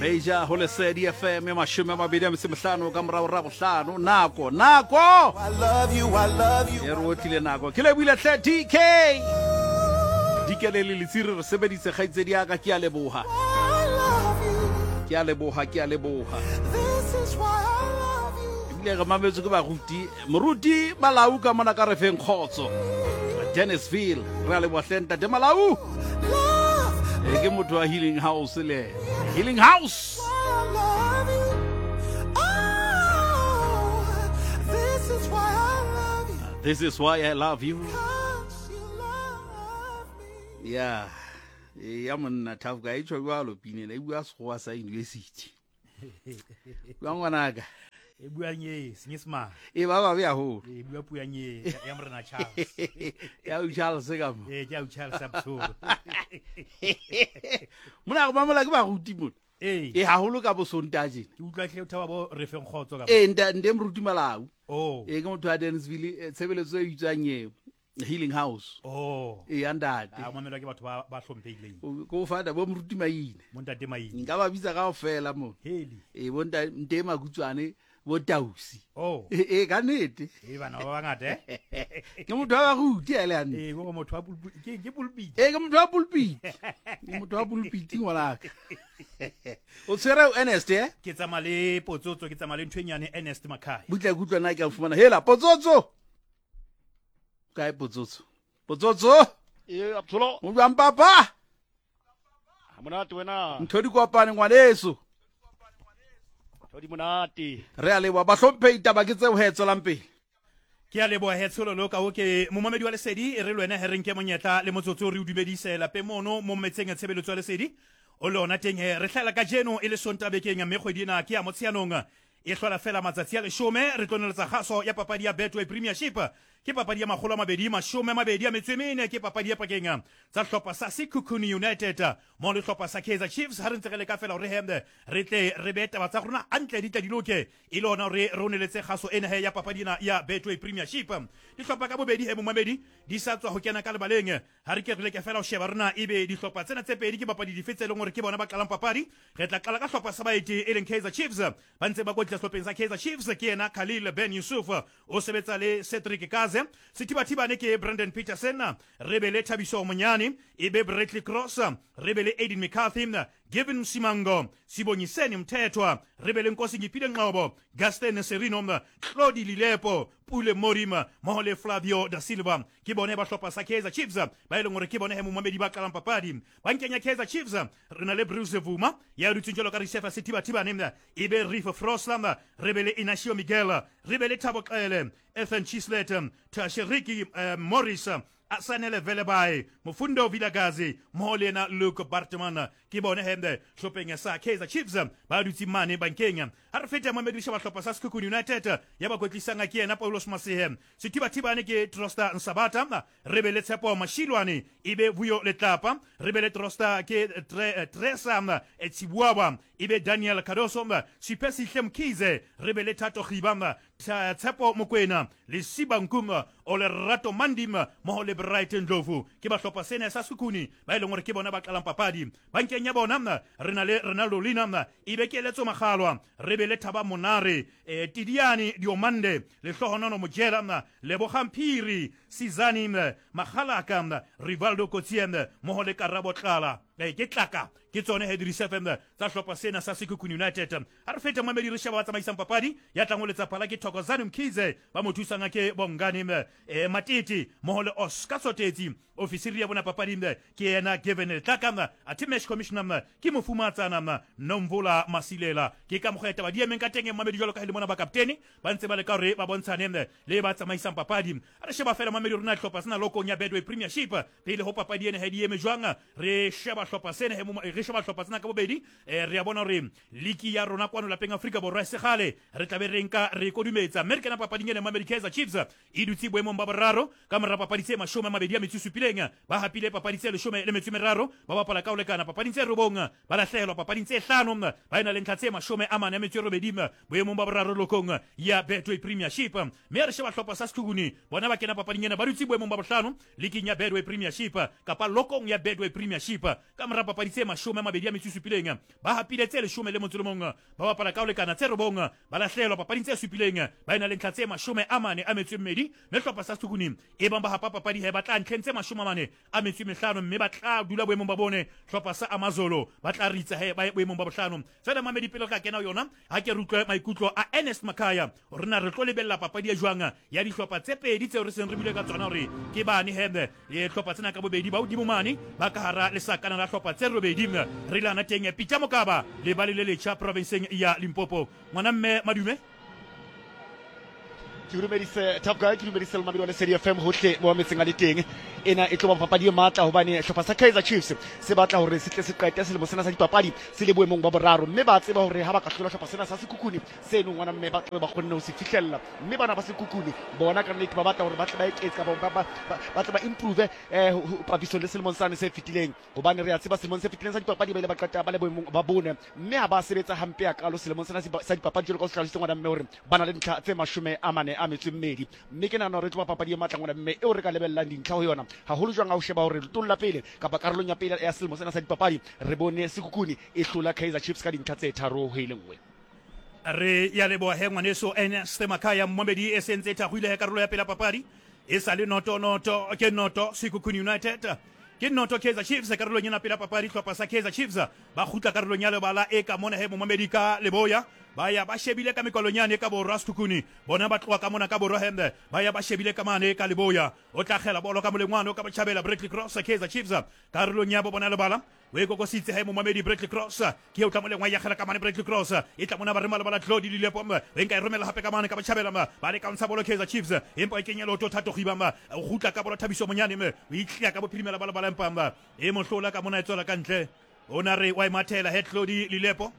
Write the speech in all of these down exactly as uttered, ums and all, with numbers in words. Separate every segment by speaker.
Speaker 1: Beja ho Lesedi F M ya mashome a mabedi a metso e mehlano ka morao ra bohlano. Nako, nako.
Speaker 2: I love you, I love you.
Speaker 1: E re otlile nako. Ke lebohile hle D K. D K le le letsiri re sebeditse kgaitsedi ya ka, ke a leboha.
Speaker 2: I love you.
Speaker 1: Ke a leboha, ke a leboha.
Speaker 2: This is why I love you.
Speaker 1: Ebile re mametswe ke baruti. Moruti Malau ka mona ka re feng kgotso. Dennisville, re a leboha hle ntate Malau.
Speaker 2: Love,
Speaker 1: E ke motho wa Healing House le. Healing House.
Speaker 2: I love you. Oh, this is why I love you.
Speaker 1: This is why I love you.
Speaker 2: 'Cause you love me.
Speaker 1: Yeah. E ya monna Thafuka e tjho jwalo pinela e bua sekgowa sa university. Bua ngwanaka.
Speaker 3: E bua nye Senyesemane.
Speaker 1: E ba babe haholo.
Speaker 3: E bua puo ya nye ya Morena Charles.
Speaker 1: Ya u Charles ka mo.
Speaker 3: E ke ya u Charles a Botsholo.
Speaker 1: Mona re mamola ke baruti mona.
Speaker 3: Ee.
Speaker 1: E haholo ka bo Sontaha tjena.
Speaker 3: Ke utlwa hle o thaba bo re feng kgotso ka.
Speaker 1: E nta nte moruti Malau.
Speaker 3: Oh.
Speaker 1: E ke motho wa Dennisville, eh, tshebeletso e bitswang eo Healing House.
Speaker 3: Oh.
Speaker 1: E ya ntate.
Speaker 3: A mamelwa ke batho ba ba hlomphehileng.
Speaker 1: O ko fata bo moruti Maine.
Speaker 3: Bo ntate Maine.
Speaker 1: Nka ba bitsa kaofela mo.
Speaker 3: Heli.
Speaker 1: E bo ntate nte Makutswane bo Tausi.
Speaker 3: Oh.
Speaker 1: E, e ka nnete.
Speaker 3: E bana ba bangata, eh?
Speaker 1: Ke motho wa baruti a le hantle.
Speaker 3: E go motho wa pulpit, ke ke pulpit.
Speaker 1: E ke motho wa pulpit. Ke motho wa pulpit ngwanaka. O tshwere o Ernest, eh?
Speaker 3: Ke tsamaya le Potsotso, ke tsamaya le ntho e nyane Ernest Makhaya.
Speaker 1: Butle ke utlwa na ke a fumana. Hela Potsotso. Kae Potsotso? Potsotso?
Speaker 4: E Absolo.
Speaker 1: O jwang papa?
Speaker 4: Ha monate wena.
Speaker 1: Ntho di kopane ngwaneso.
Speaker 4: Ntho di monate.
Speaker 1: Re a leboha bahlomphehi, taba ke tseo he tswelang pele.
Speaker 3: Ke a leboha he Tshololo ka ho ke momamedi wa Lesedi, e re le wena he re nke monyetla le motsotso re o dumedise lapeng mono mo metseng ya tshebeletso ya Lesedi. O le ona teng he re hlahela kajeno e le Sontaha bekeng, mme kgwedi ena ke ya Motsheanong. E hlola fela matsatsi a leshome, re tlo neletsa kgaso ya papadi ya Betway Premiership. Ke papadi ya makgolo a mabedi, mashome a mabedi a metso e mene, ke papadi ya pakeng tsa hlopha sa Sekhukhune United mo le hlopha sa Kaizer Chiefs. Ha re ntse re leka fela hore he re tle re be taba tsa rona hantle di tla di loke, e le hona hore re o neletse kgaso ena he ya papadi ena ya Betway Premiership. Dihlopha ka bobedi he momamedi di sa tswa ho kena ka lebaleng. Ha re ke re leke fela ho sheba rona ebe dihlopha tsena tse pedi ke papadi dife tse leng hore ke bona ba qalang papadi. Re tla qala ka hlopha sa baeti e leng Kaizer Chiefs. Ba ntse ba kwetlisa sehlopheng sa Kaizer Chiefs ke yena Khalil Ben Yusuf, o sebetsa le Cedric Kaze. Sethibathibane ke Brandon Petersen, re be le Thabiso Monyane, e be Bradley Cross, re be le Aiden McCarthy, Given Msimango, Sibongiseni Mthethwa, re be le Nkosi Ngipile Ngcobo, Gaston Serino, Claudi Lilepo, Pule Morima, mmoho le Flavio da Silva. Ke bone ba hlopha sa Kaizer Chiefs ba e leng hore ke bone he momamedi ba qalang papadi. Bankeng ya Kaizer Chiefs re na le Bruce Vuma ya dutseng jwalo ka Risefa Sethibathibane, e be Riff Froslam, re be le Inacio Miguel, re be le Thabo Xele, Ethan Chislet, Tashiriki eh, Morris, Asanele Velebayi, Mufundo Vilakazi, mmoho le yena Luke Bartman. Ke bone he hlopheng sa Kaizer Chiefs ba dutse mane bankeng. Ha re feta momamedi sheba hlopha sa Sekhukhune United ya ba kwetlisang ke yena Paulos Masihe. Sethibathibane ke Trosta Nsabata, re be le Tshepo Mashilwane, e be Vuyo Letlapa, re be le Trosta ke Tre-, Tresa Tsibuaba, e be Daniel Cardoso, Siphesihle Mkhize, re be le Thato Khiba, Tshepo Mokoena, le Siba Nkum, Olerato Mandim, mmoho le Brighton Ndlovu. Ke ba hlopha sena sa Sekhukhune ba e leng hore ke bona ba qalang papadi. Bankeng ya bona re na le Ronaldo Lina, e be Keletso Makgalwa, re be le Thaba Monare, eh, Tidiane Diomande, Lehlohonono Mojela, Lebogang Phiri, Sizani Makgalaka, Rivaldo Coetzee, mmoho le Karabo Tlala. Eh, ke Tlaka, ke tsone he di-F M tsa hlopha sena sa Sekhukhune United. Ha re feta momamedi re sheba ba tsamaisang papadi, ya tlang ho letsa phala ke Thokozani Mkhize, ba mo thusang ke Bongani, eh, Matete, mmoho le Oscar Sotetsi. Ofisiri ya bona papadi ke yena Gavin Tlaka, athe match commissioner ke mofumatsana Nomvula Masilela. Ke ka mokgwa taba di emeng ka teng momamedi jwalo ka ha le mona ba kaptene ba ntse ba leka hore ba bontshane le ba tsamaisang papadi. Ha re sheba fela momamedi rona hlopha sena lokong ya Betway Premiership pele ho papadi ena he di eme jwang, re sheba hlopha sena he mo-, re sheba hlopha sena ka bobedi, eh, re a bona hore liki ya rona kwano lapeng Afrika Borwa e segale re tla be re nka re kodumetsa. Mme re kena papading ena momamedi, Kaizer Chiefs e dutse boemong ba boraro ka mora papadi tse mashome a mabedi a metso e supileng. Ba hapile papadi tse leshome le metso e meraro, ba bapala ka ho lekana papading tse robong, ba lahlehelwa papading tse hlano, ba ena le ntlha tse mashome a mane a metso e robedi boemong ba boraro lokong ya Betway Premiership. Mme re sheba hlopha sa Sekhukhune, bona ba kena papading ena ena ba dutse boemong ba bohlano leaking ya Betway Premiership kapa lokong ya Betway Premiership ka mora papadi tse mashome a mabedi a metso e supileng ba hapile tse leshome le motso le mong ba bapala ka ho lekana tse robong ba lahlelwa papading tse supileng ba ena le ntlha tse mashome a mane a metso e mmedi mme hlopha sa Sekhukhune e bang ba hapa papadi he ba tla ntlheng tse mashome a mane a metso e mehlano mme ba tla dula boemong ba bone hlopha sa Amazolo ba tla ritsa he ba ye boemong ba bohlano tsena mamedi pele ka kena yona ha ke re utlwe maikutlo a Ernest Makhaya hore na re tlo lebella papadi e jwang ya dihlopha tse pedi tseo re seng re bile ka tsona hore ke bane he e hlopha tsena ka bobedi ba hodimo mane ba ka hara lesakana la hlopha tse robedi re lana teng Peter Mokaba le ba le letjha provinseng ya Limpopo ngwana mme madume
Speaker 4: ke dumedise Top Guy ke dumedise le mamedi wa Lesedi F M hohle mo metseng a le teng ena e tlo ba papadi e matla hobane hlopha sa Kaizer Chiefs se batla hore se tle se qete selemo sena sa dipapadi se le boemong ba boraro mme ba tseba hore ha ba ka hlola hlopha sena sa Sekhukhune seno ngwana mme ba tla ba kgonne ho se fihlella mme bana ba Sekhukhune bona ka nnete ba batla hore ba tle ba eketse kapa ba ba tle ba improve eh papisong le selemong sane se fetileng hobane re a tseba selemong se fetileng sa dipapadi ba ile ba qeta ba le boemong ba bone mme ha ba sebetsa hampe hakalo selemong sena sa dipapadi jwalo ka o se hlalositse ngwana mme hore ba na le dintlha tse mashome a mane a metso e mmedi mme ke nahana hore e tlo ba papadi e matla ngwana mme eo re ka lebellang dintlha ho yona haholo jwang ha o sheba hore letong la pele kapa karolong ya pele ya selemo sena sa dipapadi re bone Sekhukhune e hlola Kaizer Chiefs ka dintlha tse tharo ho e le nngwe.
Speaker 3: Re ya leboha he ngwaneso Ernest Makhaya mmomedi e sentse e thakgwile he karolo ya pele ya papadi e sa le noto noto ke noto Sekhukhune United ke noto Kaizer Chiefs karolong ena pele ya papadi hlopha sa Kaizer Chiefs ba kgutla karolong ya lebala e ka mona he momamedi ka leboya ba ya ba shebile ka mekolonyane ka borwa Sekhukhune bona ba tloha ka mona ka borwa hembe ba ya ba shebile ka mane ka leboya o tla kgela bolo ka molengwane o ka botjhabela Bradley Cross Kaizer Chiefs karolong ya bo bona lebala o e kokositse he momamedi Bradley Cross ke o tla molengwa ya kgela ka mane Bradley Cross e tla mona ba rema lebala Tlodi Lilepo e nka e romela hape ka mane ka botjhabela ba le ka ntsha bolo Kaizer Chiefs empa e kenya leoto Thato Khiba o kgutla ka bolo Thabiso Monyane me o itliya ka bophirimela ba lebala empa e mohlola ka mona e tswela ka ntle o na re wa e mathela he Tlodi Lilepo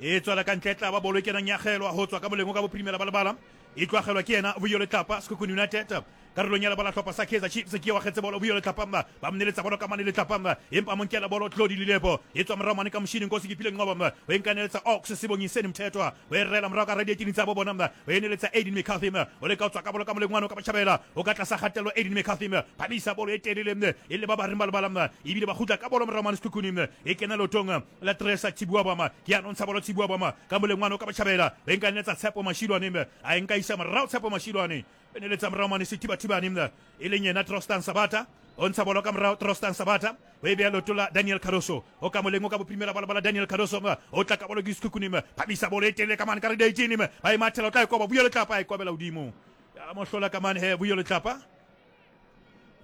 Speaker 3: e tswela ka ntle tla ba bolo e kenang ya kgelwa ho tswa ka moleng ka bophirimela ba lebala e tloagelwa ke yena Vuyo Letlapa Sekhukhune United karolong ya lebala hlopha sa Kaizer Chiefs ke wa kgetse bolo Vuyo Letlapa ba mneletsa bolo ka mane Letlapa empa mo nkela bolo Tlodi Lilepo e tswa morao mane ka moshineng Nkosi Kephile Nqoba o e nkaneletsa Ox Sibongiseni Mthethwa o e rela morao ka radiatini tsa bo bona o e neletsa Aiden McCarthy o leka ho tswa ka bolo ka moleng wane o ka botjhabela o ka tlasa kgatello Aiden McCarthy phamisa bolo e telele e le ba ba reng ba lebala ebile ba kgutla ka bolo morao mane Sekhukhune e kena leotong la Tresa Tshibuabama ke ya nontsha bolo Tshibuabama ka moleng wane o ka botjhabela o e nkaneletsa Tshepo Mashilwane a e nka isa morao Tshepo Mashilwane e neletsa morao mane Sethibathibane e leng yena Trostan Sabata o ntsha bolo ka morao Trostan Sabata o e beha leoto la Daniel Cardoso o ka moleng o ka bophirimela bala bala Daniel Cardoso o tla ka bolo ke Sekhukhune phamisa bolo e telele ka mane ka re eighteen ba e mathela o tla e koba Vuyo Letlapa e kobela hodimo ya mohlola ka mane he Vuyo Letlapa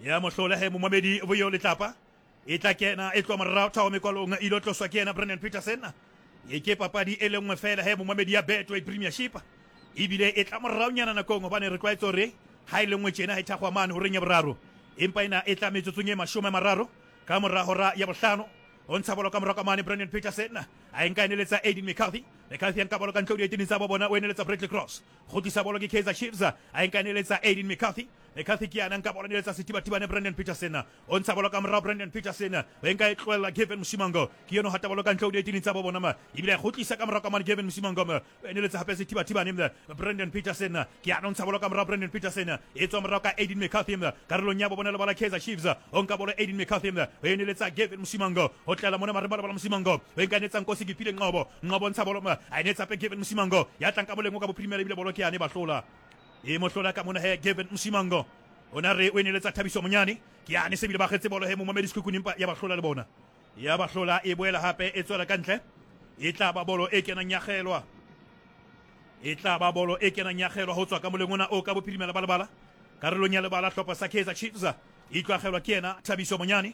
Speaker 3: ya mohlola he momamedi Vuyo Letlapa e tla kena e tloha morao thao mekwalong e ilo tloswa ke yena Brendan Peterson e ke papadi e le nngwe fela he momamedi ya Betway Premiership ebile e tla moraonyana nakong hobane re tlwaetse hore ha e le nngwe tjena ha e thakgwa mane horeng ya boraro empa ena e tla metsotsong e mashome a mararo ka mora hora ya bohlano o ntsha bolo ka morao ka mane Brendan Peterson a e nka e neletsa Aiden McCarthy McCarthy a nka bolo ka ntle ho dietini tsa bo bona o e neletsa Bradley Cross kgutlisa bolo ke Kaizer Chiefs a e nka e neletsa Aiden McCarthy McCarthy ke yana nka bolo neletsa Sethibathibane Brendan Peterson o ntsha bolo ka morao Brendan Peterson o e nka e tlohella Gavin Msimango ke yeno hata bolo ka ntle ho dietini tsa bo bona ma ebile a kgutlisa ka morao ka mane Gavin Msimango o e neletsa hape Sethibathibane Brendan Peterson ke yana ntsha bolo ka morao Brendan Peterson e tswa morao ka Aiden McCarthy karolong ya bo bona lebala Kaizer Chiefs o nka bolo Aiden McCarthy o e neletsa Gavin Msimango o tlela mona mare bala Msimango o e nka netsa Nkosi Kephile Nqobo Nqobo ntsha bolo a e netsa hape Gavin Msimango ya tlang ka moleng o ka bophirimela ebile bolo ke yane ba hlola e mohlola ka mona he Gavin Msimango o na re o e neletsa Thabiso Monyane ke yane se bile ba kgetse bolo he momamedi Sekhukhune empa ya ba hlola le bona ya ba hlola e boela hape e tswela ka ntle e tla ba bolo e kenang ya kgelwa e tla ba bolo e kenang ya kgelwa ho tswa ka moleng ona o ka bophirimela ba lebala karolong ya lebala hlopha sa Kaizer Chiefs e tloagelwa ke yena Thabiso Monyane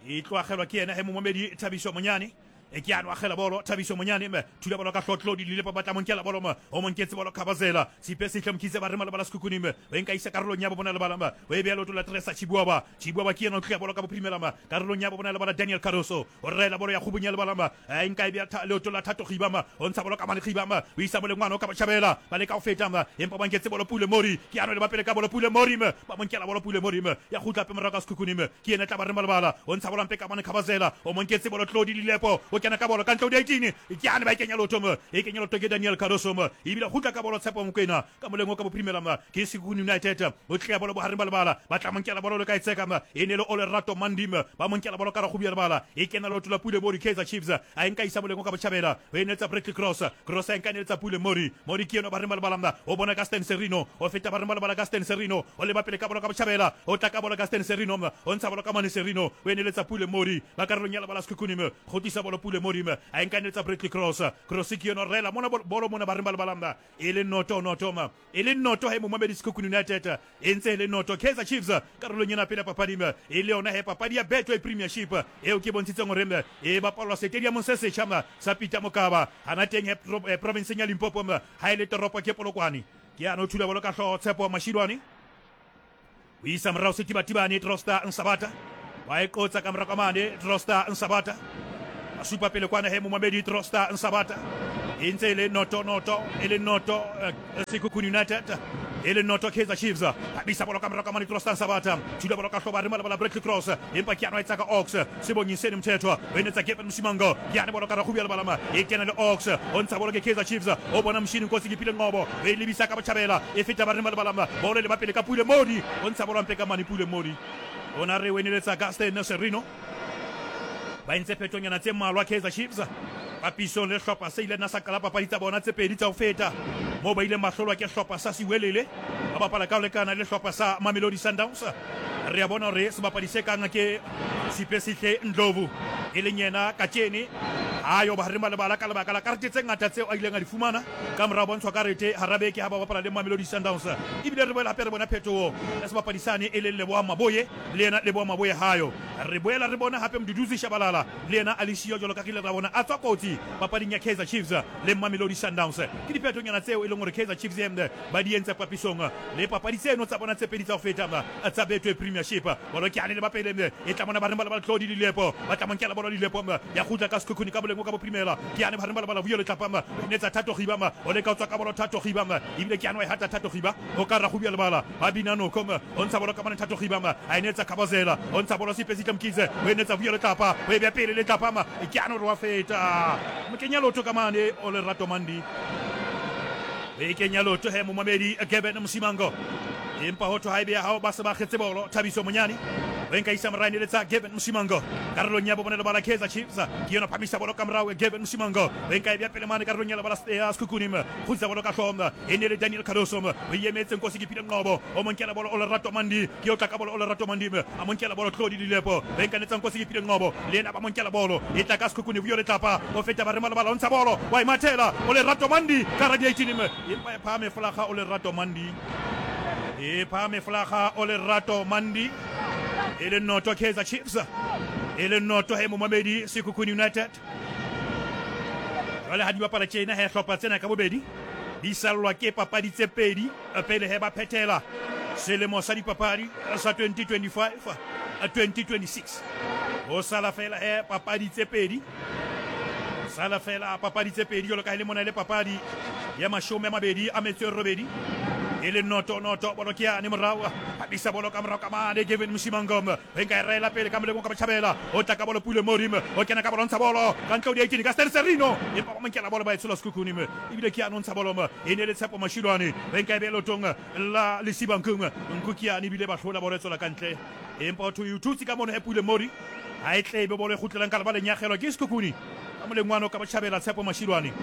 Speaker 3: e tloagelwa ke yena he momamedi Thabiso Monyane e ke ano agela bolo Thabiso Monyane me thula bolo ka hlotlo di lile pa batla monkela bolo mo o monketse bolo Khabazela Sipe Sihle Mkhize ba re malebala Sekhukhune me o nka isa karolong ya bo bona lebala ma o e beha leoto la Tresa Tshibuaba Tshibuaba ke yena o tloya bolo ka bophirimela ma karolong ya bo bona lebala Daniel Cardoso o rela bolo ya kgubung ya lebala ma a nka e beha leoto la Thato Khiba ma o ntsha bolo ka mane Khiba ma o isa molengwana o ka botjhabela ba leka ho feta ma empa ba nketse bolo Pule Mori ke ano le ba pele ka bolo Pule Mori me ba monkela bolo Pule Mori me ya kgutla pe morao ka Sekhukhune me ke yena tla ba re malebala o ntsha bolo mpe ka mane Khabazela o monketse bolo Tlodi Lilepo o O kena ka bolo ka ntle ho di-eighteen. Ke ane ba e kenya lotho mo. E kenya lotho ke Daniel Cardoso mo. Ebile kgutla ka bolo Tshepo Mokoena ka moleng o ka bophirimela mo. Ke Sekhukhune United. O tleya bolo bohareng ba lebala. Ba tla mo nkela bolo le ka e tseka mo. E ne le Olerato Mandi mo. Ba mo nkela bolo ka rakgobi ya lebala. E kena lotho la Pule Mori Kaizer Chiefs. A e nka isa moleng o ka botjhabela. O e netsa Bradley Cross. Cross a e nka netsa Pule Mori. Mori ke yena bareng ba lebala mo. O bona ka Stan Serino. O feta bareng ba lebala ka Stan Serino. O leba pele ka bolo ka botjhabela. O tla ka bolo ka Stan Serino mo. O ntsha bolo ka mane Serino. O e neletsa Pule Mori. Ba karolong ya lebala Sekhukhune mo. Kgotlisa bolo Pule Mori mo. A e nka netsa Bradley Cross. Cross ke yena rela mona bolo mona bareng ba lebala mo. E le noto noto mo. E le noto he momamedi Sekhukhune United. E ntse e le noto Kaizer Chiefs karolong ena pele papadi mo. E le yona he papadi ya Betway Premiership eo ke bontshitseng hore e bapalwa stadiumong se setjha mo sa Peter Mokaba hana teng he provinceng ya Limpopo mo. Ha e le toropo ke Polokwane. Ke yana o thula bolo ka hlooho Tshepo Mashilwane. O isa morao Setibatibane Trosta Nsabata. Wa e qotsa ka morao ka mane Trosta Nsabata. A supa pele kwana he momamedi Trosta Nsabata. E ntse e le noto noto e le noto Sekhukhune United. E le noto Kaizer Chiefs. Habisa bolo ka morao ka mane Trosta Nsabata. Thula bolo ka hlooho ba re malabala Bradley Cross. Empa ke yana e tsaka Ox. Sebonyiseni Mthethwa. O enetsa Gavin Msimango. Ke yana bolo ka rakgobi ya lebala ma. E kena le Ox. O ntsha bolo ke Kaizer Chiefs. O bona Mshini Nkosi ke pile Ngobo. O e lebisa ka botjhabela. E feta ba re malabala ma. Bolo le ba pele ka Pule Mori. O ntsha bolo mpe ka mane Pule Mori. O na re o eneletsa Gaston Serino. Ba entse phetonyana tse mmalwa Kaizer Chiefs. Papisong le hlopha se ile na sa qala papadi tsa bona tse pedi tsa ho feta. Moo ba ileng ba hlolwa ke hlopha sa Siwelele. Ba bapala ka ho lekana le hlopha sa Mamelodi Sundowns. Re a bona hore sebapadi se kang ke Sipesihle Ndlovu e leng yena kajene ha yo ba re malebala ka lebaka la karete tse ngata tseo a ileng a di fumana ka morao bontshwa karete hara beke ha ba bapala le Mamelodi Sundowns. Ebile re boela hape re bona phetoho ya sebapadi sane e leng Leboa Maboye le yena Leboa Maboye hayo. Re boela re bona hape Mduduzi Shabalala le yena a le siyo jwalo ka re ile ra bona a tswa kotsi papading ya Kaizer Chiefs le Mamelodi Sundowns. Ke diphetonyana tseo e leng hore Kaizer Chiefs ba di entse papisong le papadi tseno tsa bona tse pedi tsa ho feta tsa Betway Premiership. Bolo ke ane le ba pele e tla mona ba re ba ba Tlodi Lilepo. Ba tla monkela bolo Lilepo ya kgutla ka Sekhukhune ka boleng ka boprimela. Ke ane ba re ba ba Vuyo Letlapa netsa Thato Khiba o le ka tswa ka bolo Thato Khiba ebile ke ane wa e hata Thato Khiba o ka ra gubia lebala ba bina noko o ntsha bolo ka mane Thato Khiba a e netsa Khabazela o ntsha bolo Sipesihle Mkhize o e netsa Vuyo Letlapa o e bea pele Letlapa ke ane re wa feta mokenya lotho ka mane o Lerato Mandi. E kenya lotho he momamedi Gavin Msimango. Empa ho thwe ha ebe ya hao ba se ba kgetse bolo Thabiso Monyane. O nka isa morao e letsa Gavin Msimango. Karolong ya bobone lebala Kaizer Chiefs. Ke yona phamisa bolo ka morao Gavin Msimango. O nka e bea pele mane karolong ya lebala ya Sekhukhune. Kgutsa bolo ka hlooho. E ne le Daniel Cardoso. O emetse Nkosi ke pile Ngobo. O mo nkela bolo o Lerato Mandi. Ke o tla ka bolo o Lerato Mandi. A mo nkela bolo Tlodi Lilepo. O nka netsa Nkosi ke pile Ngobo. Le yena ba mo nkela bolo. E tla ka Sekhukhune Vuyo Letlapa. O feta ba re malebala o ntsha bolo. Wa e mathela o Lerato Mandi ka radiating. Empa e phahame folaga o Lerato Mandi. E phahame folaga o Lerato Mandi. E le noto Kaizer Chiefs. E le noto he momamedi Sekhukhune United. Jwale ha di bapala tjena he hlopha tsena ka bobedi di sallwa ke papadi tse pedi pele he ba phethela selemo sa dipapadi sa twenty twenty-five twenty twenty-six. Ho sala fela he papadi tse pedi. Sala fela papadi tse pedi jwalo ka le mona le papadi ya mashome a mabedi a metso e robedi. E le noto noto bolo ke yane morao phabisa bolo ka morao ka mane Gavin Msimango. O nka e rela pele ka moleng ka botjhabela. O tla ka bolo Pule Mori. O kena ka bolo ntsha bolo ka ntle ho di-eighteen ka Stan Serino. Empa ba mo nkela bolo ba e tshola Sekhukhune. Ebile ke yane o ntsha bolo e ne le Tshepo Mashilwane. O nka e beha leotong la Lesiba Nkung. Nku ke yane ebile ba hlola bolo e tswela ka ntle. Empa ho thwe o thutse ka mono he Pule Mori. Ha e tle ebe bolo e kgutlelang ka lebaleng ya kgelwa ke Sekhukhune. Ka moleng wane o ka botjhabela Tshepo Mashilwane.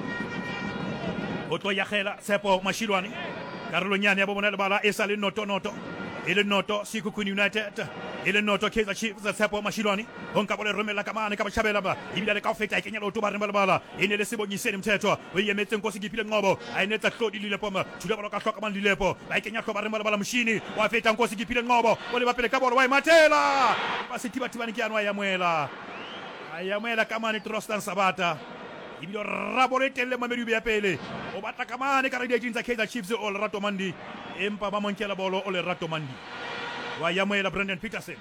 Speaker 3: O tlo yakgela Tshepo Mashilwane. Karolong yane ya bobona lebala e sa le noto noto. E le noto Sekhukhune United. E le noto Kaizer Chiefs Tshepo Mashilwane. O nka bolo e romela ka mane ka botjhabela ba. Ebile le ka ho feta e kenya leoto ba re lebala. E ne le Sebonyiseni Mthethwa. O e emetse Nkosi ke pile Ngobo. A e netsa Tlodi Lilepo. Thula bolo ka hloka mane Lilepo. Ba e kenya hlo ba re lebala Mshini. Wa feta Nkosi ke pile Ngobo. O leba pele ka bolo wa e mathela. Ba Setibatibane ke yane wa e amohela. A e amohela ka mane Trostan Sabata. Ebile rabolo e telle mamedi ya pele. O batla ka mane ka radiating tsa Kaizer Chiefs o Lerato Mandi. Empa ba mo nkela bolo o Lerato Mandi. Wa amohela Brandon Petersen.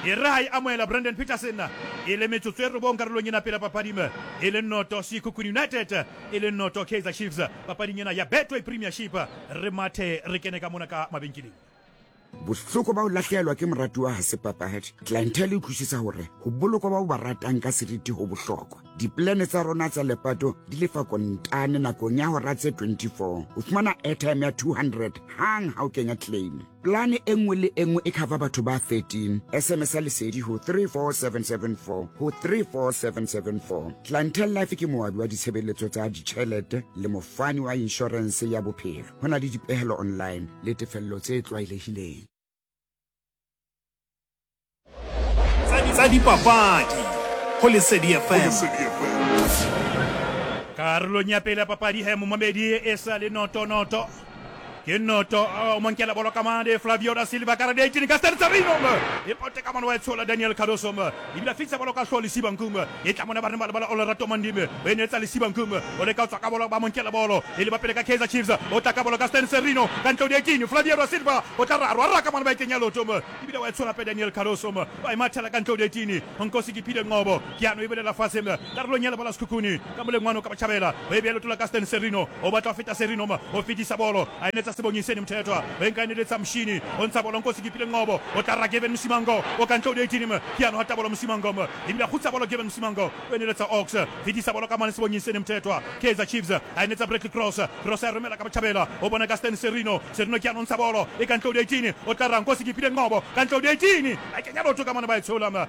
Speaker 3: E re ha e amohela Brandon Petersen e le metsotso e robong karolong ena pele papadi e le noto Sekhukhune United e le noto Kaizer Chiefs papading ena ya Betway Premiership. Re mathe re kene ka mona ka mabenkeleng.
Speaker 5: Bohloko ba ho lahlehelwa ke moratuwa ha se papadi. Clientele e utlwisisa hore ho bolokwa bao ba ratang ka seriti ho bohlokwa. Diplane tsa rona tsa lepato di lefa kontane nakong ya hora tse twenty-four. O fumana airtime ya two hundred hang ha o kenya claim. Plane e nngwe le e nngwe e cover batho ba thirteen. S M S a Lesedi ho three four seven seven four ho three four seven seven four. Clientele Life ke moabi wa ditshebeletso tsa ditjhelete le mofani wa insurance ya bophelo. Ho na le dipehelo online le tefello tse tlwaelehileng.
Speaker 3: Tsa dipapadi ho Lesedi F M. Karolong ya pele ya papadi he momamedi e sa le noto noto. Ke noto o monkela bolo ka mane Flavio da Silva ka radiating ka Serino e pote ka mane wa tshola Daniel Cardoso e bila fitsa bolo ka hlo Lesiba Nkume e tla mona ba re ba o Lerato Mandime o enetsa Lesiba Nkume o le ka tswa ka bolo ba monkela bolo e le ba pele ka Kaizer Chiefs o tla ka bolo ka Stan Serino ka ntlo di eighteen Flavio da Silva o tla ra ra ka mane ba kenya loto e bila wa tshola pe Daniel Cardoso ba e mathela ka ntlo di eighteen Nkosi ke phile Ngobo ke ano e belela fatshe karolong ya lebala Sekhukhune ka molengwano ka batjhabela o e bea lotola ka Stan Serino o batla ho feta Serino o fetisa bolo a enetsa Sebongiseni Mthethwa o nka eneletsa Mshini o ntsha bolo Nkosi ke phile Ngobo o tla ra Gavin Msimango o ka ntlo di eighteen ke ano hata bolo Msimango e bila khutsa bolo Gavin Msimango o eneletsa Ox fetisa bolo ka mane Sebongiseni Mthethwa Kaizer Chiefs a enetsa Bradley Cross Cross a romela ka batjhabela o bona ka Stan Serino Serino ke ano ntsha bolo e ka ntlo di eighteen o tla ra Nkosi ke phile Ngobo ka ntlo di eighteen a kenya lotho ka mane ba e tshola wa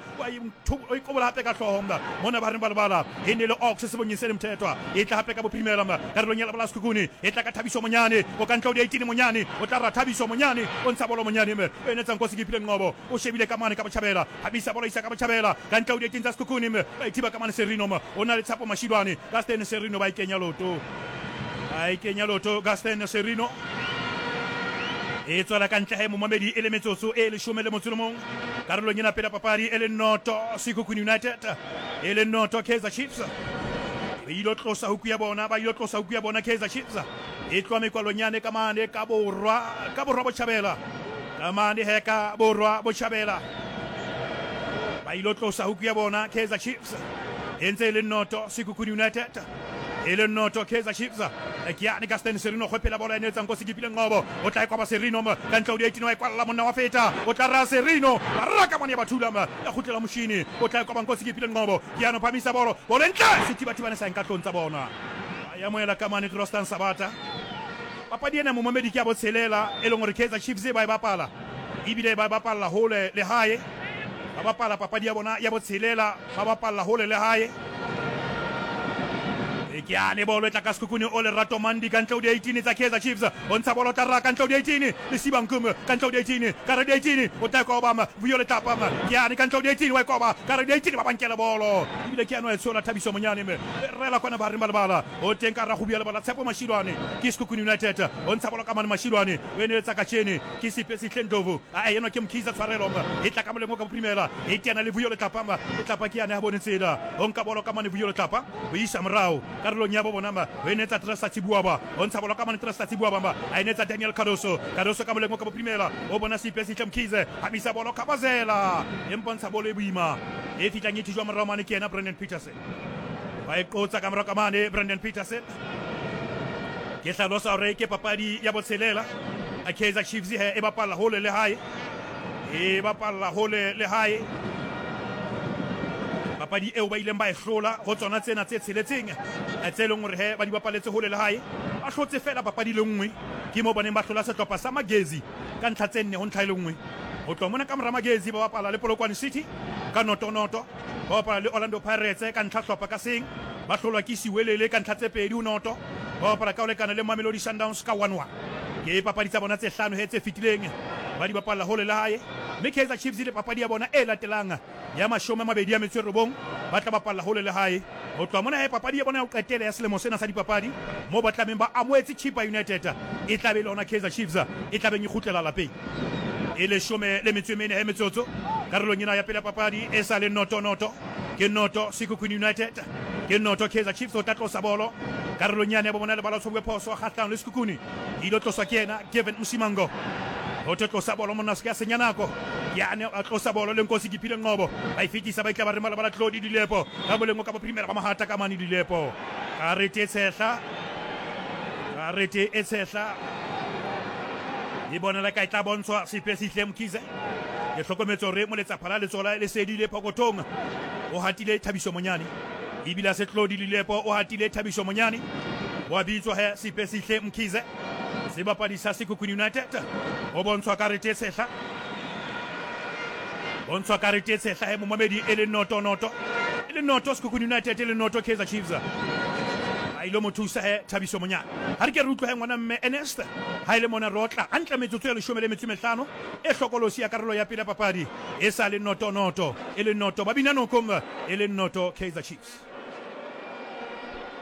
Speaker 3: o ikobola hape ka hlooho mona ba re ba lebala e ne le Ox Sebongiseni Mthethwa e tla hape ka bophirimela karolong ya lebala Sekhukhune e tla ka Thabiso Monyane o ka ntlo di eighteen Monyane o tla ra Thabiso Monyane o ntsha bolo Monyane me o enetsa Nkosi ke phile Ngobo o shebile ka mane ka botjhabela habisa bolo isa ka botjhabela ka ntlo di eighteen tsa Sekhukhune me ba ithiba ka mane Serino me o na le Tshapo Mashilwane ka Stan Serino ba ikenya loto ba ikenya loto ka Stan Serino e tswela ka ntle he momamedi e le metsotso e leshome le motso le mong karolong ena pele papadi e le noto Sekhukhune United e le noto Kaizer Chiefs ba ilo tlosa huku ya bona ba ilo tlosa huku ya bona Kaizer Chiefs e tloha mekwalonyane ka mane ka borwa ka borwa botjhabela ka mane he ka borwa botjhabela ba ilo tlosa huku ya bona Kaizer Chiefs e ntse e le noto Sekhukhune United e le noto Kaizer Chiefs ke ane ka Stan Serino go phela bolo e netsa Nkosi ke phile Ngobo o tla e kwaba Serino ka ntlo di eighteen wa e kwalla monna wa feta o tla ra Serino ba raka mane ba thula ya khutlela Moshini o tla e kwaba Nkosi ke phile Ngobo ke ano phamisa bolo bolo ntle sethibathibane sa nka tlong tsa bona ya moela ka mane Trostan Sabata papadi ena momamedi ke ya botshelela e leng hore Kaizer Chiefs ba e bapala ebile ba bapalla hole le hae ba bapala papadi ya bona ya botshelela ba bapalla hole le hae ke ane bolo e tla ka Sekhukhune o Lerato Mandi ka ntle ho di eighteen tsa Kaizer Chiefs o ntsha bolo tla ra ka ntle ho di eighteen Lesiba Nkume ka ntle ho di eighteen ka re di eighteen o tla koba Vuyo Letlapa ke ane ka ntle ho di eighteen wa koba ka re di eighteen ba bankela bolo ebile ke ano e tshola Thabiso Monyane me rela kwana ba re ba lebala o teng ka ra go bua lebala Tshepo Mashilwane ke Sekhukhune United o ntsha bolo ka mane Mashilwane o eneletsa ka tjene ke Sepe Sihlendlovu a enwa ke Mkhize tshwarelo e tla ka molemo ka boprimela e teana le Vuyo Letlapa Letlapa ke ane ha bone tsela o nka bolo ka mane Vuyo Letlapa o isa morao karolong ya bo bona ma o enetsa Tresta Tsibuaba o ntsha bolo ka mane Tresta Tsibuaba ma a enetsa Daniel Cardoso Cardoso ka molemo ka boprimela o bona Sepe Sihle Mkhize habisa bolo Khabazela empa ntsha bolo e boima e fitlang e thijwa morao mane ke yena Brandon Peterson ba e qotsa ka morao ka mane Brandon Peterson ke hlalosa hore ke papadi ya botshelela a Kaizer Chiefs he e bapalla hole le hae e bapalla hole le hae papadi eo ba ileng ba e hlola ho tsona tsena tse tsheletseng tse leng hore he ba di bapaletse hole le hae ba hlotse fela papadi le nngwe ke mo baneng ba hlola sehlopha sa Magezi ka ntlha tse nne ho ntlha e le nngwe ho tloha mona ka mora Magezi ba bapala le Polokwane City ka noto noto ba bapala le Orlando Pirates ka ntlha hlopha ka seng ba hlolwa ke Siwelele ka ntlha tse pedi ho noto ba bapala ka ho lekana le Mamelodi Sundowns ka one one ke papadi tsa bona tse hlano he tse fetileng ba di bapalla hole le hae mme Kaizer Chiefs le papadi ya bona e latelang ya mashome a mabedi a metso e robong ba tla bapalla hole le hae ho tloha mona he papadi ya bona ya ho qetela ya selemo sena sa dipapadi moo ba tlameng ba amohetse Chippa United e tla be le hona Kaizer Chiefs e tla beng e kgutlela lapeng e leshome le metso e mene he metsotso karolong ena ya pele ya papadi e sa le noto noto ke noto Sekhukhune United ke noto Kaizer Chiefs o tla tlosa bolo karolong yane ya bo bona lebala tshobwe phoso kgahlanong le Sekhukhune e ilo tloswa ke yena Gavin Msimango o tlo tlosa bolo monna se ka senya nako yane a tlosa bolo le Nkosi ke phile Ngobo ba e fetisa ba itla ba re malabala Tlodi Dilepo ka moleng ka boprimela ba mahata ka mane Dilepo ka rete tshehla ka rete e tshehla E bonela ka e tla bontshwa Siphesihle Mkhize. Ke hlokometse hore moletsaphala letsoho le sedile phokothong. O hatile Thabiso Monyane. Ebile se Tlodi Lilepo o hatile Thabiso Monyane. Wa bitswa he Siphesihle Mkhize. Sebapadi sa Sekhukhune United. O bontshwa karete e tshehla. Bontshwa karete e tshehla he momamedi e le noto noto. E le noto Sekhukhune United e le noto Kaizer Chiefs. A ilo mo thusa he Thabiso Monyane. Ha re ke re utlwe he ngwana mme Ernest. Ha ile mona rotla hantle metsotso e leshome le metso e mehlano e hlokolosi ya karolo ya pele ya papadi e sa le noto noto e le noto ba bina nokong e le noto Kaizer Chiefs.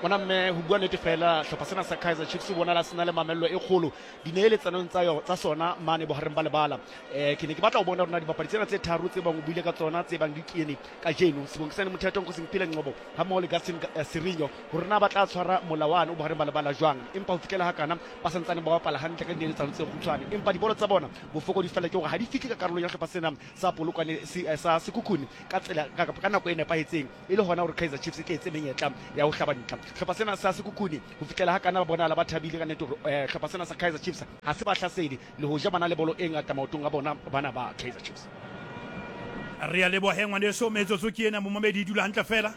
Speaker 4: Ngwana mme ho bua nnete fela hlopha sena sa Kaizer Chiefs ho bonala se na le mamello e kgolo dineeletsanong tsa yo tsa sona mane bohareng ba lebala. Eh ke ne ke batla ho bona hore na dibapadi tsena tse tharo tse bang o buile ka tsona tse bang di kene kajeno Sibongiseni Mothetho, Nkosingiphile Ngcobo ha mmoho le Gaston Sirino hore na ba tla tshwara molawane o bohareng ba lebala jwang, empa ho fihlela hakana ba santsane ba bapala hantle ka dineeletsano tse kgutshwane, empa dibolo tsa bona bofokodi fela ke hore ha di fihle ka karolong ya hlopha sena sa Polokwane sa Sekhukhune ka tsela ka nako e nepahetseng, e le hona hore Kaizer Chiefs e tle etse menyetla ya ho hlaba dintlha. Hlopha sena sa Sekhukhune ho fihlela hakana ba bonala ba thabile ka nnete hore hlopha sena sa Kaizer Chiefs ha se ba hlasedi le ho ja bana le bolo e ngata maotong a bona bana ba Kaizer Chiefs.
Speaker 3: Re a leboha he ngwaneso, metsotso ke ena momamedi dula hantle fela.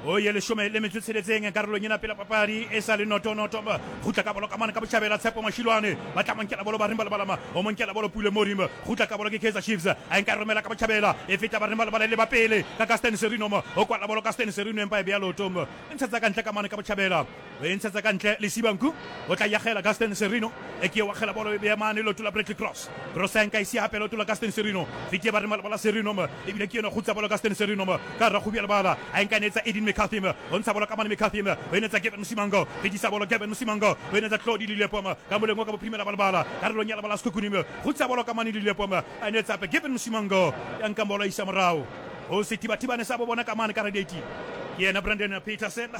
Speaker 3: O ye leshome le metso e tsheletseng karolong ena pela papadi e sa le noto noto. Kgutla ka bolo ka mane ka botjhabela Tshepo Mashilwane ba tla monkela bolo ba reng ba lebalama o monkela bolo Pule Morimo. Kgutla ka bolo ke Kaizer Chiefs a nka romela ka botjhabela e feta ba reng ba lebala le ba pele ka Gaston Serino mo o kwala bolo Gaston Serino empa e beya loto mo e ntshetsa ka ntle ka mane ka botjhabela o e ntshetsa ka ntle le Sibanku o tla yagela Gaston Serino e ke wa kgela bolo e beya mane loto la Bradley Cross. Cross a nka isi hape loto la Gaston Serino fitie ba reng ba lebala Serino mo ebile ke yena kgutsa bolo Gaston Serino mo ka ra go lebala a nka netsa Edin McCarthy o ntsha bolo ka mane McCarthy o enetsa Gavin Msimango fetisa bolo Gavin Msimango o enetsa Tlodi Lilepo ka moleng ka bophirimela ba lebala karolong ya lebala Sekhukhune kgutsa bolo ka mane Lilepo a enetsa hape Gavin Msimango ya nka bolo isa morao o sethibathibane sa bo bona ka mane ka radiating ke yena Brandon Petersen.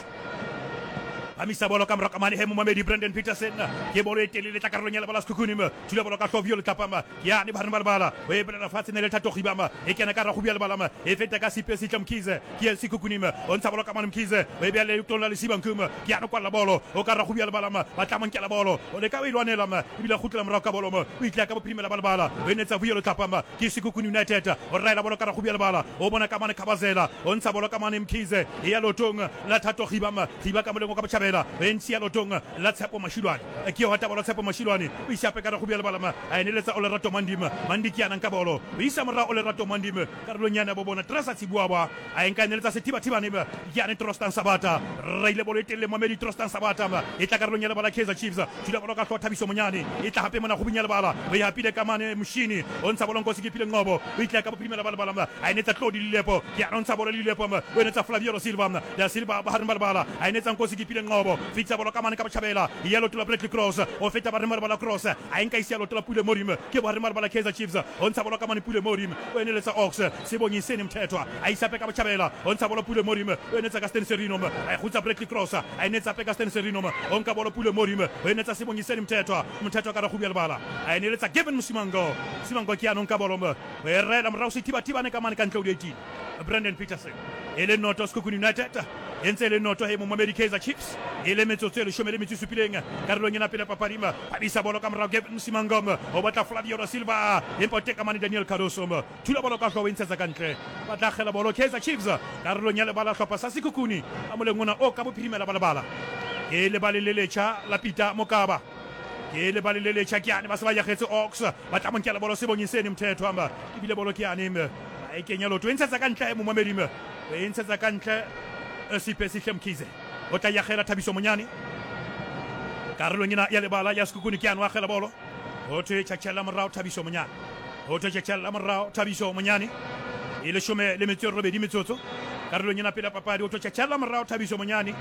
Speaker 3: Phamisa bolo ka morao ka mane he momamedi Brandon Petersen ke bolo e telele tla karolong ya lebala Sekhukhune thula bolo ka hlooho letlapama ke yane ba reng ba lebala o e belela fatshe ne le Thato Gibama e kena ka ragobi ya lebala e feta ka Siphesihle Mkhize ke ya Sekhukhune o ntsha bolo ka mane Mkhize o e beya leotong la Lesibanku ke yane kwalla bolo o ka ragobi ya lebala ba tla monkela bolo o leka o e lwanela ebile kgutlela morao ka bolo o itla ka bophirimela ba lebala o enetsa Vuyo letlapama ke Sekhukhune United o raela bolo ka ragobi ya lebala o bona ka mane Khabazela o ntsha bolo ka mane Mkhize e ya leotong la Thato Gibama Giba ka moleng ka botjhabela e ntshi ya lotong la Tshepo Mashilwane ke yo hata bolo Tshepo Mashilwane o isa hape ka ragobi ya lebala a eneletsa Olerato Mandima Mandi ke yana nka bolo o isa morao Olerato Mandima karolong yana bo bona Trasa Tsibuaba a nka eneletsa Sethibathibane ke yane Trostan Sabata raile bolo e telele momedi Trostan Sabata e tla karolong ya lebala Kaizer Chiefs thula bolo ka hlooho Thabiso Monyane e tla hape mona gobing ya lebala o e hapile ka mane Moshini o ntsha bolo Nkosingiphile Ngcobo o itla ka bophirimela ba lebala a enetsa Tlodi Lilepo ke yana o ntsha bolo Lilepo o enetsa Flavio Silva da Silva ba hareng ba lebala a enetsa Nkosingiphile Ngcobo fitsa bolo ka mane ka botjhabela ya loto la Bradley Cross o feta ba reng ba Cross a nka isia loto la Pule Morimo ke ba reng ba Kaizer Chiefs o ntsha bolo ka mane Pule Morimo o eneletsa Ox Sibongiseni Mthethwa a isa pe ka botjhabela o ntsha bolo Pule Morimo o enetsa Gaston Serino a kgutsa Bradley Cross a enetsa pe Gaston Serino o nka bolo Pule Morimo o enetsa Sibongiseni Mthethwa Mthethwa ka ragobi ya lebala a eneletsa Gavin Msimango Msimango ke yanong ka bolo o e rela morao Sethibathibane ka mane ka ntle o di eighteen Brandon Petersen e le noto Sekhukhune United e ntse e le noto he momamedi Kaizer Chiefs e le metsotso e leshome le metso e supileng karolong ena pele papadi phamisa bolo ka morao Gavin Msimango o batla Flavio da Silva empa o teka mane Daniel Cardoso thula bolo ka hlooho e ntshetsa ka ntle ba tla kgela bolo Kaizer Chiefs karolong ya lebala hlopha sa Sekhukhune a moleng ona o ka bophirimela ba lebala ke lebale le letjha la Peter Mokaba ke lebale le letjha ke yane ba se ba yagetse Ox ba tla monkela bolo Sibongiseni Mthethwa ebile bolo ke yane a e kenya loto e ntshetsa ka ntle momamedi e ntshetsa ka ntle Siphesihle Mkhize o tla yagela Thabiso Monyane karolong ena ya lebala ya Sekhukhune ke yane wa kgela bolo ho thwe tjhatjhella morao Thabiso Monyane ho thwe tjhatjhella morao Thabiso Monyane e leshome le metso e robedi metsotso karolong ena pele papadi ho thwe tjhatjhella morao Thabiso Monyane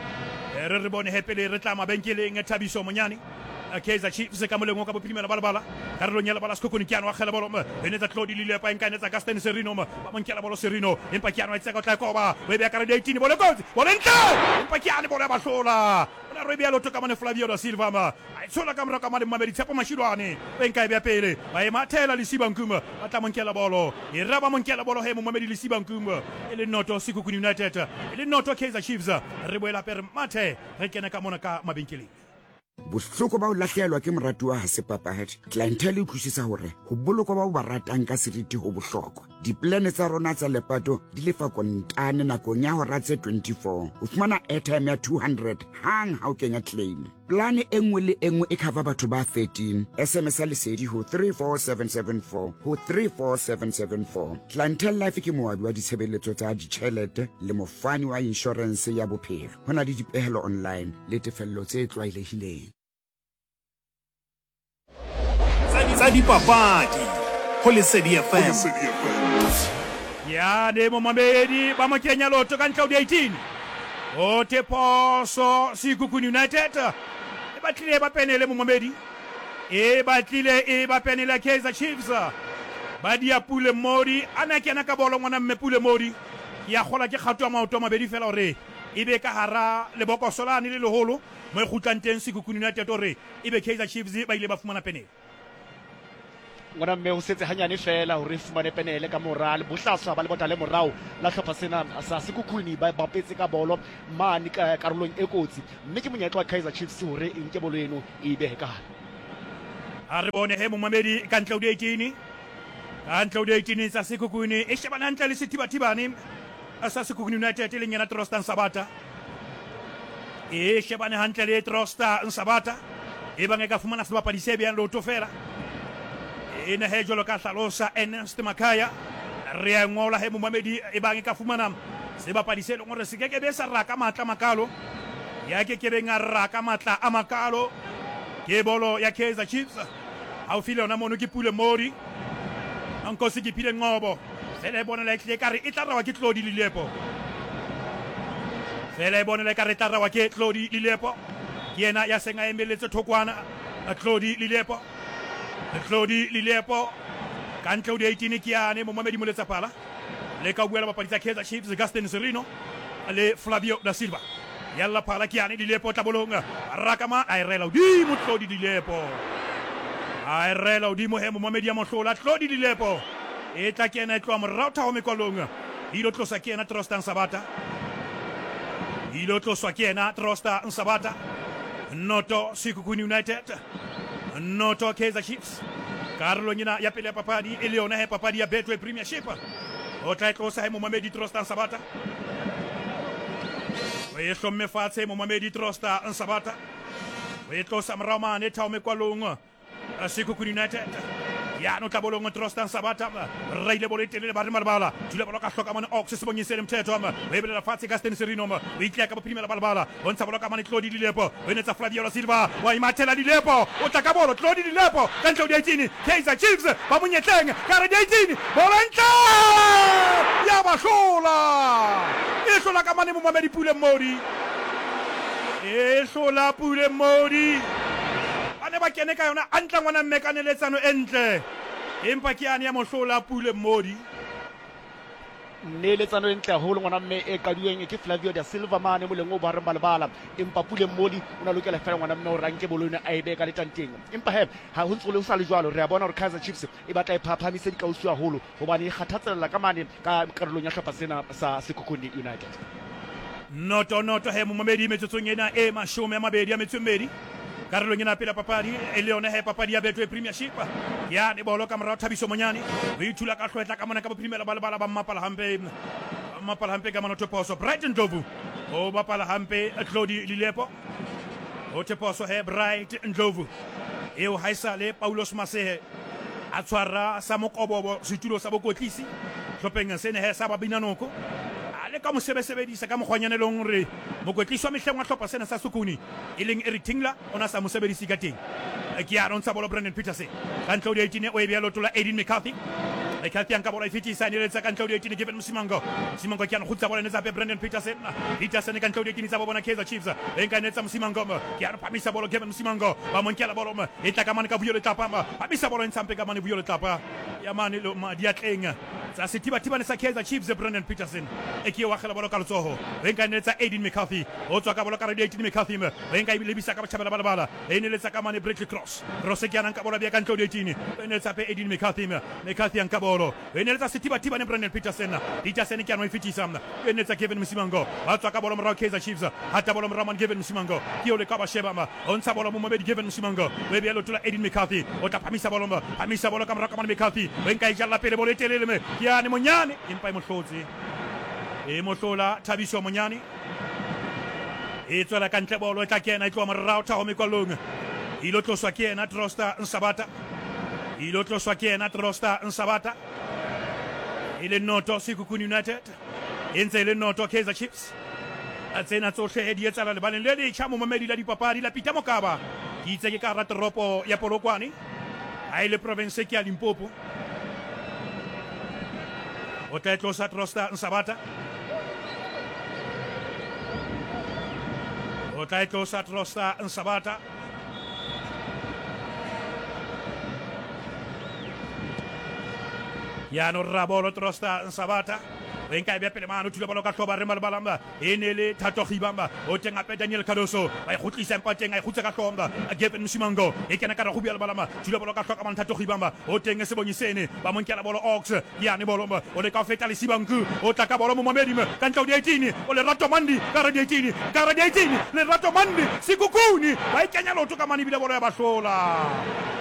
Speaker 3: re re bone hepele re tla mabenkeleng Thabiso Monyane Kaizer Chiefs ka moleng o ka bophirimela ba lebala karolong ya lebala Sekhukhune ke yane wa kgela bolo e netsa Tlodi Lilepo a nka netsa Gaston Serino ba monkela bolo Serino empa ke yane wa itseka o tla e koba o e beya ka eighteen bolo kotsi bolo ntle empa ke yane bolo ya bahlola o na re e beya loto ka mane Flavio da Silva a e tshola ka morao ka mane momamedi Tshepo Mashilwane o e nka e beya pele ba e mathela Lesibanku ba tla monkela bolo e ra ba monkela bolo he momamedi Lesibanku e le noto Sekhukhune United e le noto Kaizer Chiefs re boela hape re mathe re kene ka mona ka mabenkeleng.
Speaker 5: Bohloko ba ho lahlehelwa ke moratuwa ha se papadi. Clientele e utlwisisa hore ho bolokwa ba o ba ratang ka seriti ho bohlokwa. Diplane tsa rona tsa lepato di lefa kontane nakong ya hora tse twenty-four. O fumana airtime ya two hundred hang ha o kenya claim. Plane e nngwe le e nngwe e cover batho ba thirteen. S M S ya Lesedi ho three four seven seven four ho three four seven seven four. Clientele Life ke moabi wa ditshebeletso tsa ditjhelete le mofani wa insurance ya bophelo. Ho na le dipehelo online le tefello tse tlwaelehileng.
Speaker 6: Tsa dipapadi ho Lesedi F M.
Speaker 3: Ya ne momamedi ba mo kenya lotho ka ntle ho di eighteen. O te phoso Sekhukhune United. E batlile ba penele momamedi. E batlile e ba penele Kaizer Chiefs. Ba dia Pule Mmodi ana kena ka bolo ngwana mme Pule Mmodi. Ya kgola ke kgato ya maoto a mabedi fela hore e be ka hara lebokoso lane le leholo mo e kgutlang teng Sekhukhune United hore e be Kaizer Chiefs ba ile ba fumana penele.
Speaker 4: Ngwana mme ho setse hanyane fela hore fumane penele ka mora le bohlaswa ba le bota le morao la hlopha sena sa Sekhukhune ba bapetse ka bolo mane ka karolong e kotsi mme ke monyetla wa Kaizer Chiefs hore e nke bolo eno e behe ka hare.
Speaker 3: A re bone he momamedi ka ntle ho di eighteen. Ka ntle ho di eighteen tsa Sekhukhune e shebana hantle le sethibathibane sa Sekhukhune United e leng yena Trostan Sabata. E shebane hantle le Trostan Sabata e bang e ka fumana sebapadi se behang leoto fela. E ne he jwalo ka hlalosa Ernest Makhaya re a ngola he momamedi e bang e ka fumana sebapadi se leng hore se ke ke be sa raka matla makalo ya ke ke beng a raka matla a makalo ke bolo ya Kaizer Chiefs haufi le yona mono ke Pule Mmodi Nkosi ke phile Ngobo fela e bonela e tlile kare e tla rawa ke Tlodi Lilepo fela e bonela kare e tla rawa ke Tlodi Lilepo ke yena ya seng a emeletse thokwana Tlodi Lilepo Tlodi Lilepo ka ntle ho di eighteen ke yane momamedi Moletsaphala le ka buela bapadi tsa Kaizer Chiefs Gaston Serino le Flavio da Silva yalla phala ke yane Lilepo tlabolong rakama a e rela hodimo Tlodi Lilepo a e rela hodimo he momamedi ya mohlola Tlodi Lilepo e tla kena e tloha morao thaho mekwalong e ilo tlosa ke yena Trostan Sabata e ilo tloswa ke yena Trostan Sabata noto Sekhukhune United noto Kaizer Chiefs karolong ena ya pele ya papadi e le yona he papadi ya Betway Premiership o tla e tlosa he momamedi Trostan Sabata o e hlomme fatshe momamedi Trostan Sabata o e tlosa morao mane thao mekwalong Sekhukhune United ya no tlabolong Trostan Sabata reile bolo e telele ba re malebala thula bolo ka hloka mane Ox sebonyeng se le mthetho o e belela fatshe ka Stan Serino o itleya ka bophirimela balebala o ntsha bolo ka mane Tlodi Lilepo o enetsa Flavio da Silva wa imathela Lilepo o tla ka bolo Tlodi Lilepo ka ntle ho di eighteen Kaizer Chiefs ba monyetleng ka re di eighteen bolo ntle ya ba hlola e hlola ka mane momamedi Pule Mmodi e hlola Pule Mmodi ba ne ba kene ka yona a ntla ngwana mme ka neletsano e ntle empa ke yane ya mohlola Pule Mmodi
Speaker 4: Neletsano e ntle haholo ngwana mme e qaduweng ke Flavio da Silva mane moleng o bohareng ba lebala empa Pule Mmodi o na lokela fela ngwana mme hore a nke bolo ena a e behe ka letanteng empa he ha ho ntse ho sa le jwalo re a bona hore Kaizer Chiefs e batla e phaphamise dikausu haholo hobane e kgathatsella ka mane ka karolong ya hlopha sena sa Sekhukhune United.
Speaker 3: Noto noto he momamedi metsotsong ena e mashome a mabedi a metso e mmedi karolong ena pele papadi e le yona he papadi ya Betway Premiership ya ne bolo ka morao Thabiso Monyane o ithula ka hlwetla ka mona ka bophirimela ba lebala ba mmapala hampe ba mmapala hampe ka mona Thoposo Bright Ndlovu o bapala hampe Tlodi Lilepo o Thoposo he Bright Ndlovu eo haesale Paulos Masehe a tshwara sa mokobobo setulo sa bokotlisi hlopheng sene he sa Babinanoko a le ka mo sebesebedisa ka mokgwanyane leng hore mokwetlisi wa mehleng wa hlopha sena sa Sekhukhune e leng Eric Tingler o na sa mo sebedise ka teng ke ya ntsha bolo Brandon Peterson ka ntle ho di eighteen o e beha leoto la Aiden McCarthy McCarthy a nka bolo e fetisa neletsa ka ntle ho di eighteen Given Msimango Msimango ke ya kgutsa bolo netsa hape Brandon Peterson Peterson ka ntle ho di eighteen tsa bo bona Kaizer Chiefs e nka netsa Msimango ke ya phamisa bolo Given Msimango ba mo nkela bolo e tla ka mane ka Vuyo Letlapa phamisa bolo e ntsha mpe ka mane Vuyo Letlapa ya mane lo diatleng Tsa sethibathibane sa Kaizer Chiefs Brandon Petersen e ke wa kgela bolo ka letsoho o nka neletsa Aiden McCarthy o tswa ka bolo ka radio Aiden McCarthy o nka e lebisa ka botjhabela ba lebala e neletsa ka mane Bradley Cross Cross ke yana nka bolo bia ka ntle ho eighteen o neletsa pe Aiden McCarthy McCarthy nka bolo o neletsa sethibathibane Brandon Petersen Petersen ke yana o e fetisa o neletsa Kevin Msimango ba tswa ka bolo morao Kaizer Chiefs hata bolo morao man Kevin Msimango ke o le ka ba sheba ma o ntsha bolo momedi Kevin Msimango o e bea leoto la Aiden McCarthy o tla phamisa bolo phamisa bolo ka morao ka mane McCarthy o nka e jalla pele bolo e telele me ke yane Monyane empa e mohlotse e mohlola Thabiso Monyane e tswela ka ntle bolo e tla kena e tloha morao thaho mekwallong e ilo tloswa ke yena Trosta Nsabata e ilo tloswa ke yena Trosta Nsabata e le noto Sekhukhune United e ntse e le noto Kaizer Chiefs a tsena tsohle di etsahala lebaleng le letjha momamedi la dipapadi la Peter Mokaba ke itse ke ka hara toropo ya Polokwane ha e le province ke ya Limpopo o tla e tlosa Trosta Nsabata o tla e tlosa Trosta Nsabata yano rabolo Trosta Nsabata o nka e bea pele mane o thula bolo ka hloba re malebala e ne le Thato Gibamba o teng hape Daniel Cardoso ba e kgutlisa empa teng a e kgutsa ka hlomba Gavin Msimango e kena ka re go bia lebalama thula bolo ka hloka mane Thato Gibamba o teng Sebonyi Sene ba mo nkela bolo Ox yane bolo o leka ho feta Lesibanku o tla ka bolo momamedi ka ntle ho di-eighteen o Lerato Mandi ka re di-eighteen ka re di-eighteen Lerato Mandi Sekhukhune ba e kenya leoto ka mane ebile bolo ya ba hlola